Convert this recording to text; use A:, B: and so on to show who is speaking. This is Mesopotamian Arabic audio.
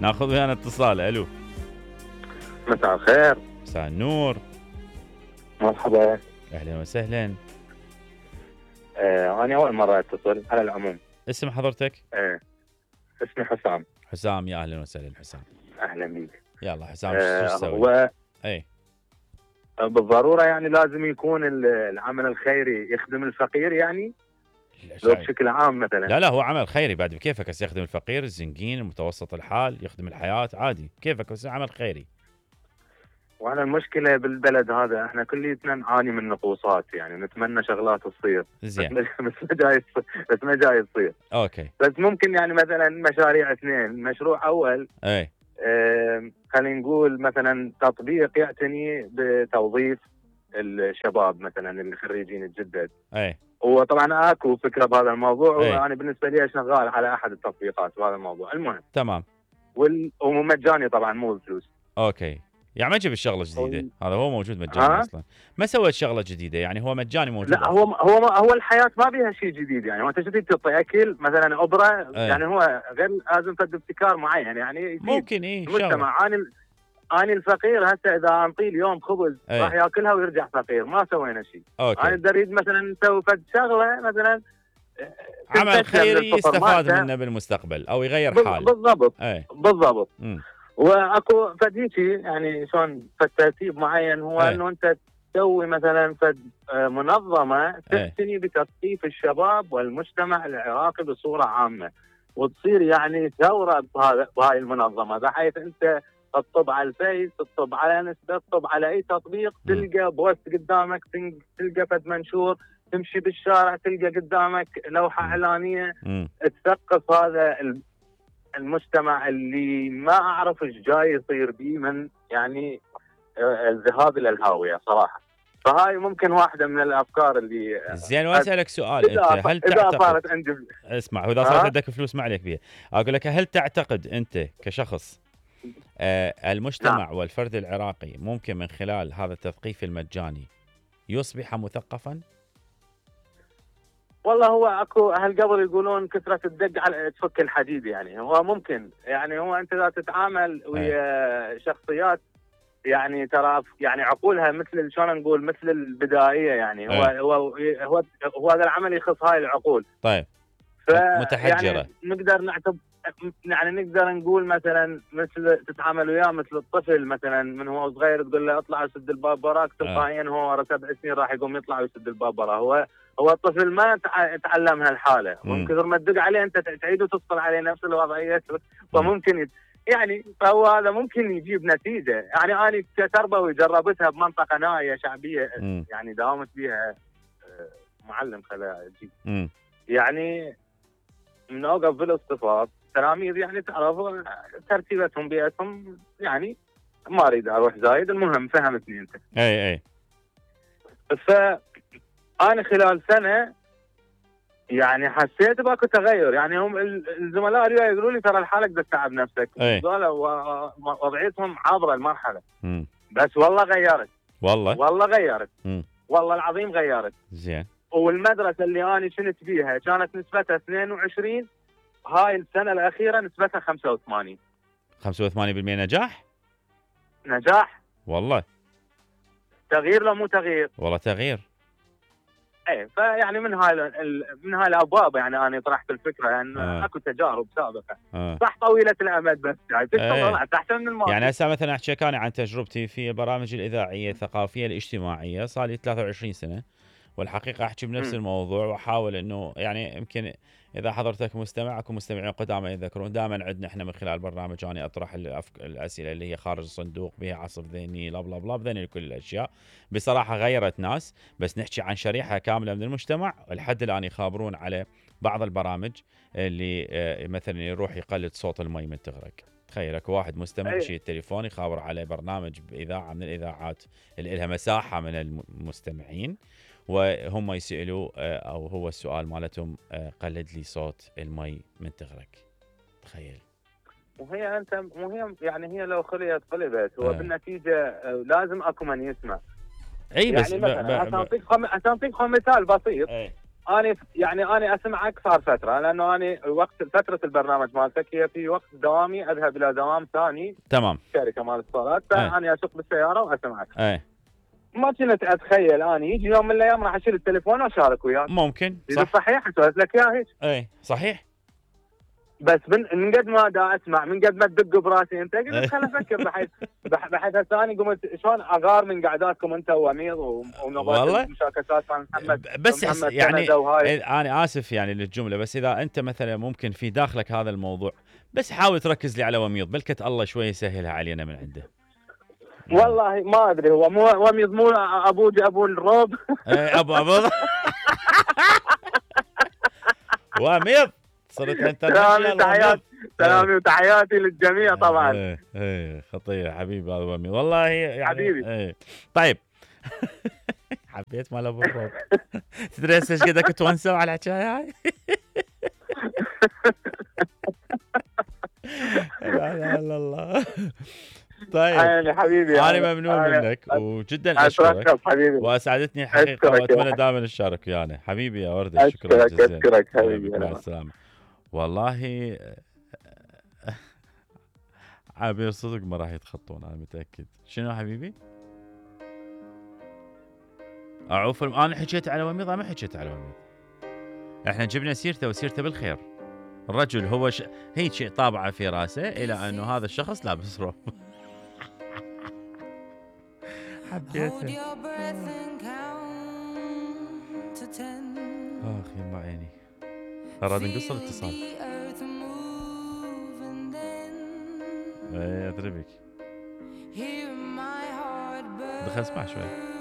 A: ناخذ ويانا اتصال. الو.
B: مساء الخير.
A: مساء النور.
B: مرحبا.
A: اهلا وسهلا.
B: انا اول مره اتصل على العموم.
A: اسم حضرتك؟
B: اسمي حسام.
A: حسام، يا اهلا وسهلا حسام.
B: اهلا بيك.
A: يلا حسام، شو تسوي؟
B: هو
A: اي
B: بالضروره يعني لازم يكون العمل الخيري يخدم الفقير، يعني لو بشكل عام مثلا.
A: لا هو عمل خيري بعد بكيفك، بس يخدم الفقير، الزنقين، المتوسط الحال، يخدم الحياه عادي كيفك، بس عمل خيري.
B: وانا المشكله بالبلد هذا احنا كليتنا نعاني من نقوصات، يعني نتمنى شغلات تصير
A: زين
B: بس ما جاي تصير.
A: اوكي.
B: بس ممكن يعني مثلا مشاريع اثنين. مشروع اول
A: اي
B: خلينا نقول مثلا تطبيق يعتني بتوظيف الشباب مثلا اللي خريجين الجدد.
A: اي
B: وطبعا اكو فكره بهذا الموضوع، وانا بالنسبه لي شغال على احد التطبيقات بهذا الموضوع. المهم
A: تمام.
B: ومجاني طبعا مو بفلوس.
A: اوكي، يعني ما جبت شغله جديده، هذا هو موجود مجاني اصلا، ما سويت شغله جديده، يعني هو مجاني موجود.
B: لا هو الحياه ما بيها شيء جديد، يعني هو انت جديد تعطي اكل مثلا ابره. يعني هو غير لازم تد ابتكار معين، يعني
A: ممكن
B: المجتمع. اني الفقير هسه اذا انطيه اليوم خبز راح ياكلها ويرجع فقير، ما سوينا شيء. انا اريد مثلا نسوي فد شغله مثلا
A: عمل خيري يستفاد منه بالمستقبل او يغير حاله.
B: بالضبط. واكو فد هيجي يعني شلون فد ترتيب معين، هو انه انت تسوي مثلا فد منظمه تعتني بتثقيف الشباب والمجتمع العراقي بصوره عامه، وتصير يعني ثوره بهاي المنظمه، بحيث انت تطب على الفيس، تطب على انستا، تطب على اي تطبيق، تلقى بوست قدامك، تلقى فد منشور، تمشي بالشارع تلقى قدامك لوحه اعلانيه تثقف هذا المجتمع اللي ما اعرف ايش جاي يصير بيه من يعني الذهاب الى الهاويه صراحه. فهاي ممكن واحده من الافكار اللي
A: زين. واسالك سؤال، انت هل تعتقد
B: صارت عندي
A: اسمع، واذا صارت عندك فلوس ما عليك بيها، اقول لك هل تعتقد انت كشخص المجتمع والفرد العراقي ممكن من خلال هذا التثقيف المجاني يصبح مثقفا؟
B: والله هو اكو اهل قبل يقولون كثره الدق على تفك الحديد، يعني هو ممكن، يعني هو انت اذا تتعامل ويا شخصيات يعني ترى يعني عقولها مثل شلون نقول مثل البدائيه، يعني هو هذا العمل يخص هاي العقول.
A: طيب متحجره،
B: يعني نقدر نعتبر يعني نقدر نقول مثلا مثل تتعامل وياه مثل الطفل مثلا من هو صغير، تقول له اطلع وسد الباب وراك، تلقائيا هو ورا 7 سنين راح يقوم يطلع ويسد الباب وراه. هو الطفل ما تعلم هالحاله، ومن كثر ما تدق عليه انت تعيد وتفصل عليه نفس الوضعيه، فممكن يعني فهو هذا ممكن يجيب نتيجه. يعني انا كتربوي جربتها بمنطقه نائيه شعبيه، يعني داومت بيها معلم خلاجي، يعني من اوقف بالاصطفاف تلاميذ، يعني تعرف ترتيبتهم بيئتهم، يعني ما اريد اروح زايد، المهم فهمتني انت.
A: اي
B: فانا خلال سنه يعني حسيت باكو تغير، يعني هم الزملاء اللي يقولوا لي ترى الحالك بدك تتعب نفسك، وضعيتهم عابره المرحله. بس والله غيرت، والله غيرت، والله العظيم غيرت.
A: زين.
B: والمدرسه اللي انا كنت بيها كانت نسبتها 22، هاي السنه الاخيره نسبتها 85.
A: 85%
B: نجاح
A: والله.
B: تغيير لو مو تغيير؟
A: والله تغيير.
B: ايه، فيعني من هاي الابواب يعني انا طرحت الفكره، يعني اكو تجارب سابقه صح طويله الامد، بس يعني طلعت احسن من الماضي.
A: يعني هسه مثلا احكي انا عن تجربتي في البرامج الاذاعيه الثقافيه الاجتماعيه، صار لي 23 سنه، والحقيقه احكي بنفس الموضوع، واحاول انه يعني يمكن اذا حضرتك مستمع، اكو مستمعين قدامى يذكرون دائما عندنا احنا من خلال برنامج اني اطرح الاسئله اللي هي خارج الصندوق، بها عصف ذهني، لا بلا بلا بذني كل الاشياء بصراحه غيرت ناس، بس نحكي عن شريحه كامله من المجتمع لحد الان يخابرون على بعض البرامج اللي مثلا يروح يقلد صوت المي من تغرق. تخيل اكو واحد مستمع يشيل التليفون يخابر على برنامج باذاعه من الاذاعات اللي لها مساحه من المستمعين، وهم يسألوا او هو السؤال مالتهم قلد لي صوت المي من تغرق. تخيل.
B: وهي يعني هي لو قلبت هو بالنتيجه لازم اكو من يسمع.
A: اي بس
B: يعني مثلا عشان اعطيك مثال بسيط. انا اسمعك صار فتره، لانه انا وقت فتره البرنامج مالتك هي في وقت دوامي اذهب الى دوام ثاني.
A: تمام.
B: شركه مال اتصالات، فانا اسوق بالسياره واسمعك. ما كنت اتخيل اني يجي يوم من الايام راح اشيل التليفون واشارك وياك.
A: ممكن صح.
B: صحيح اسولف لك اياها هيك.
A: صحيح.
B: بس من قد ما دا اسمع، من قد ما تدق براسي انت، قلت خل افكر بحيث ثاني قمت شلون اغار من قعداتكم انت وامير ونظام المشاكسات مع محمد.
A: بس محمد يعني انا اسف يعني للجمله، بس اذا انت مثلا ممكن في داخلك هذا الموضوع، بس حاول تركز لي على وميض، بلكة الله شوي يسهلها علينا من عنده.
B: والله ما ادري، هو مو وميض، مو ابو الروب.
A: ابو وميض صرت انت.
B: سلامي وتحياتي للجميع طبعا.
A: خطير حبيبي هذا وميض والله يعني.
B: حبيبي.
A: طيب حبيت مال ابو الروب. تدري ايش قد كنت ونسوا على الحكايه هاي. لا لا لا الله. طيب
B: يعني حبيبي
A: انا ممنون منك وجدا اشكرك
B: حبيبي،
A: واسعدتني حقيقه، واتمنى دائما نشارك ويانا حبيبي يا ورده.
B: شكرا جزيلا. اشكرك حبيبي،
A: مع السلامه. والله عابر صدق ما راح يتخطون، انا متاكد. شنو حبيبي؟ اعوف انا حكيت على وميض، ما حكيت على وميض. احنا جبنا سيرته وسيرته بالخير. الرجل هو هيك شيء طابعه في راسه الى انه هذا الشخص لابس روب. حبيته. اخي ما عيني. اراد نقص الاتصال. ادري بك. دخل اسمع شوي.